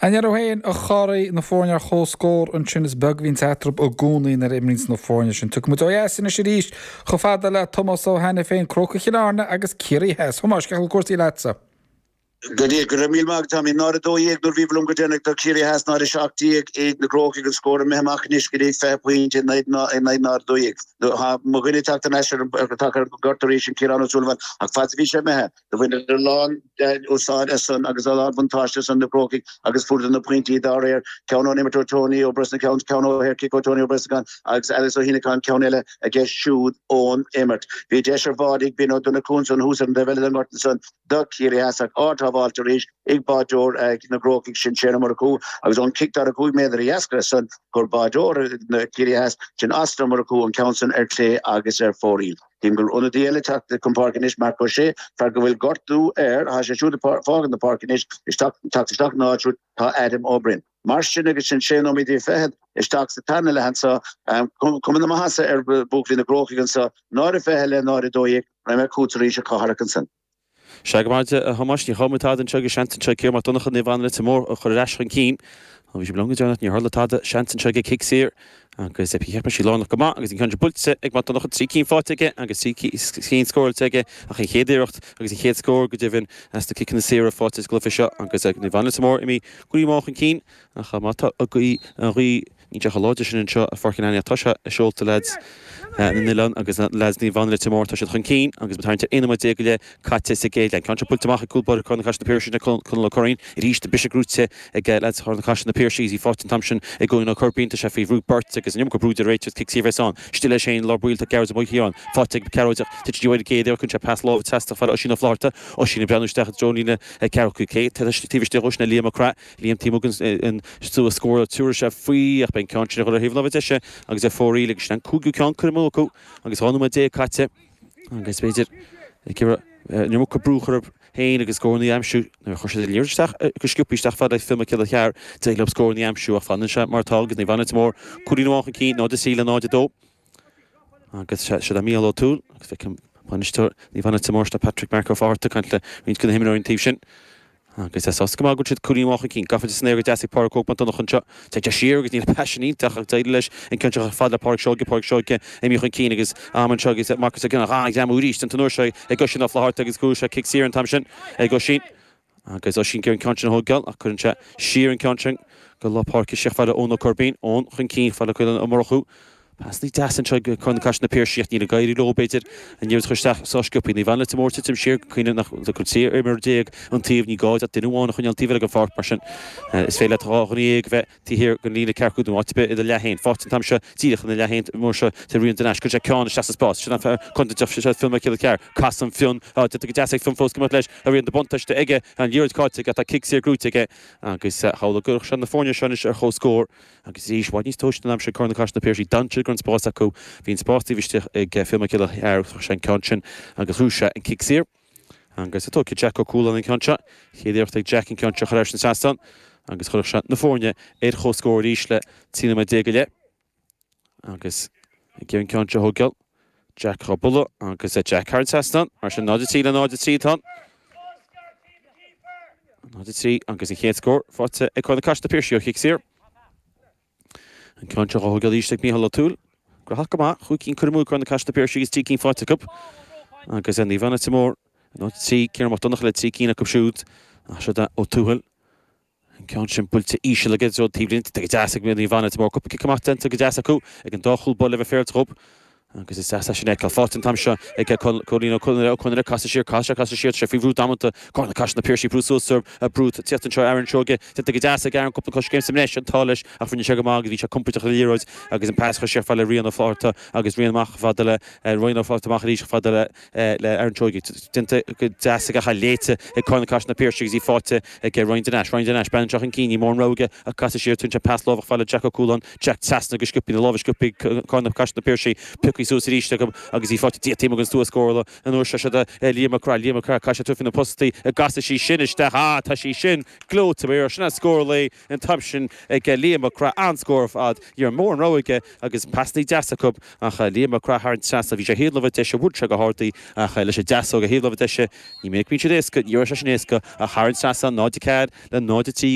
An ndéarfá féin, a charaí, na foirne ar comhscór ansin, is beag a bhíonns eatarthu i gcónaí nuair a imríonns na foirne sin. Tiocfaidh muid ó dheas anois arís chomh fada le Tomás Ó hAiniféin, Crócaigh Chill Airne agus Ciarraí Theas. Thomáis, cén chaoi a bhfuil cúrsaí leatsa? Go dtí, go raibh míle maith agat, Tommy. 0-12 nuair a bhíobhair liom go deireanach do Chiarraí Theas, 0-17 ag na Crócaigh, an scór imithe amach anois go dtí 20 pointe in aghaidh 0-12. Tá mo dhuine ag teacht thar n-ais ar an ngort arís, sin Ciarán Ó Súilleabháin, ach fad is a bhí sé imithe, Do bhaineadar a lán úsáid as san agus a lán buntáiste as san na Crócaigh agus fuaireadar na pointí dá réir, ceann ón imreoir Tony Ó Brosnacháin, ceann ó shaorchic ó Tony Ó Brosnacháin agus Alex Ó hÉineacháin ceann eile aige siúd ón imirt. Bhí deis ar bháide ag Ben Ó Donnchú ansan thuas ar an dtaobh eile den ngort ansan do Chiarraí Theas ach ard-shábháilte arís ag báideoir na gCrócaigh sin Shane Ó Murchú agus ón cic 45 méadar a d'eascair as san chuir báideoir na Ciarraí Theas sin Austin Ó Murchú an ceann san ar clé agus ar fóraoil. Cím go bhfuil ionadaí eile ag teacht chun páirce anois, Marc Ó Sé, fear go bhfuil gortú air. Tá sé siúd ag fágaint na páirce anois, isteach, teacht isteach ina áit siúd tá Adam Ó Broin. Mar sin agus sin sé nóiméad fichead isteach sa tarna leath anseo, cuma na maitheasa ar bhuachaillí na gCrócaigh anseo, 0-20 le 0-12, raghaidh mé chugat arís a Chathail ansin. Sea go maith a Thomáis, ní chaill muid tada anseo agus seans anseo ag Ciarán Mac Donncha Naomh Anna Leitir Móir a chur ar ais chun cinn. Ó bhí sibh liom go deireanach, níor tharla tada, seans anseo aige cic saor agus cheap mé sí lárnach go maith agus an ceann seo buailte ag Mac Donncha, trí cinn faighte aige agus trí cinn scóráilte aige ach an chéad iarracht agus an chéad scór go deimhin as na ciceanna saora faighte sa gcluiche seo agus Naomh Anna Leitir Móir imithe cúilín amháin chun cinn ach má tá an ghaoth Níl sé chomh láidir sin anseo i Pháirc an Aonaigh ach tá sé i seolta leaids na n-oileán agus leaids Naomh Anna Leitir Móir. Tá siad chun cinn agus muid ag tarraingt ar 11 nóiméad go leith caite sa gcéad leath. An ceann seo buailte amach ag cúl báire Corn na Caiseal Na Piarsaigh sin Conall Ó Curraoin. Arís an briseadh gnóite ag leaids Chorn na Caiseal Na Piarsaigh agus í faighte an t-am sin ag Eoin Ó Coirbín. Tá sé faoi bhrú beirt agus an iomarca brú de réiteach cic saor a bheas ann. Istigh leis féin i lár baill tá Gearóid Ó Maoilchiaráin faighte ag Gearóid ach titeann sí uaidh an gcéad iarracht. Cuireann sé pas láimhe trasna chomh fada le Oisín Ó Flatharta. Oisín ag breathnú isteach i dtreo an líne ceathracha cúig. Taobh istigh dhó sin é Liam Mac Craith. Liam taobh amuigh den stua scórála tabharfaidh sé faoi ach beidh an ceann sin ag dul ar thaobh na láimhe deise agus ar fóraoil agus sin an cúigiú ceann curtha amú acu agus 12 nóiméad caite agus b'fhéidir ag iarraidh an iomarca brú a chur orthu féin agus scóranna a aimsiú nuair a chuir siad an liathróid isteach go sciobtha isteach fad le Fionn Mac Céilleachair d'éirigh leo scóranna a aimsiú ach fanann sé mar atá agus Naomh Anna Leitir Móir cúilín amháin chun cinn 0-3 le 0-2. Agus siod é Mícheál Ó Tuathail agus feicim bainisteoir Naomh Anna Leitir Móir sin é Patrick Mark Ó Fátharta ag caint le roinnt de na himreoirí an taobh sin. Agus é sásta go maith go bhfuil siad cúilín amháin chun cinn. Gafa san aer go deas ag Pádraig Óg Mac Donncha anseo. Téann sé siar agus níl an pas sin iontach ach d'éirigh leis an ceann seo chomh fada le Pádraig Seoige, Pádraig Seoige imithe chun cinn agus am anseo agus Marcus Ó Gionnaith an-ghreamú arís an uair seo ag Oisín Ó Flatharta agus chuaigh sé cic saor an t-am sin ag Oisín. Agus Oisín ag iarraidh an ceann sin a thógáil ach cuireann sé siar an ceann sin go lár páirce isteach fada Eoin Ó Coirbín. Eoin chun cinn fada le Caolán Ó Murchú. Pasanna deasa anseo ag Corn na Caiseal Na Piarsaigh ach níl ag éirí leo, b'fhéidir, an liathróid a chur isteach sách sciobtha. Naomh Anna Leitir Móir titim siar, cuimhnigh nach bhfuil 13 imreoir an taobh, ní gá ach duine amháin a choinneáil an taobh eile den pháirc, mar sin is féidir leat dhá dhuine dhéag a bheith taobh thiar den líne ceathracha nó áit ar bith i do leath féin. Faighte an t-am seo díreach ina leath féin an uair seo tá Rian de Nais. Cuireann sé ceann isteach sa spás. Sin an fear contúirteach, sin Fionn Mac Céilleachair. Casann Fionn, déanta go deas ag Fionn fós go mbeadh leis. Tá rian de buntáiste aige, an liathróid caillte aige, tá cic saor gnóite aige agus shamhlódh go gcuirfeadh sé na foirne seo anois ar comhscór. Agus arís, i bhfad níos tomhaiste an t-am sin Corn na Caiseal Na Piarsaigh, d'fhan siad go raibh an spás acu. Bhí an spás taobh istigh ag Fionn Mac Céilleachair, chuir sé an ceann sin agus ghnóthaigh sé an cic saor. Agus tógfaidh Jack Ó Cualáin an ceann seo. Chéad iarracht ag Jack an ceann seo a chur thar an trasnán agus chuirfeadh sé na foirne ar comhscór arís le 13 nóiméad go leith. Agus ag iarraidh an ceann seo a thógáil, Jack dhá bualadh agus Jack thar an trasnán. Mar sin 0-3 le 0-3 atá ann. 0-3 agus an chéad scór faighte ag Corn na Caiseal Na Piarsaigh ó chic saor. An ceann seo dhá thógáil arís ag Mícheál Ó Tuathail. Gnóthach go maith, chúig cinn curtha amú ag Corn na Caiseal Na Piarsaigh agus trí cinn faighte acu. Agus Naomh Anna Leitir Móir, 0-3, Ciarán Mac Donncha le trí cinn acu siúd. Ach siod é Ó Tuathail. An ceann sin buailte íseal aige i dtreo taobhlíne. Go deas ag Naomh Anna Leitir Móir. Cúpla cic amach déanta go deas acu ag an dá chúl báire le bheith féaráilte dhób. Agus is deas é sin a fheiceáil. Faighte an t-am seo ag Cóilín Ó Conaire. Ó Conaire casadh siar, casadh siar, casadh siar. Tá sé faoi bhrú damanta. Corn na Caiseal Na Piarsaigh ag brú suas air. Brú ag tíocht anseo Aaron Seoige. Déanta go deas ag Aaron cúpla coiscéim sa mbreis. An t-ádh leis ach rinne sé go maith agus bhí sé compordach ar an liathróid agus an pas a chur siar fada le Rian Ó Flatharta agus Rian amach fada le Ryan Ó Flatharta amach arís fada le le Aaron Seoige. Déanta go deas aige ach léite ag Corn na Caiseal Na Piarsaigh agus í faighte ag Ryan de Nais. Ryan de Nais, breathnaíonn sé chun cinn, níl mórán rogha aige ach casadh siar, tugann sé pas láimhe fada le Jack Ó Cualáin. Jack trasna go sciobtha, na lámha sciobtha ag Corn na Caiseal Na Piarsaigh, pioctha suas arís acu agus í faighte taobh amuigh den stua scórála an uair seo. Siod é Liam Mac Craith, Liam Mac Craith, caithfidh sé tabhairt faoi na postaí, an gcasfaidh sí sin isteach, ah tá sí sin gleoite, mar sin é scór an lae an t-am sin ag Liam Mac Craith, an-scór ar fad, ní raibh mórán rogha aige agus pasannaí deasa acu ach Liam Mac Craith thar an trasnán, bhí sé ar thaobh na láimhe deise, bhuail sé go hard í ach leis an deasóg ar thaobh na láimhe deise, ní minic a bhíonn siad éasca, ní raibh sé sin éasca ach thar an trasnán, 0-4 le 0-3.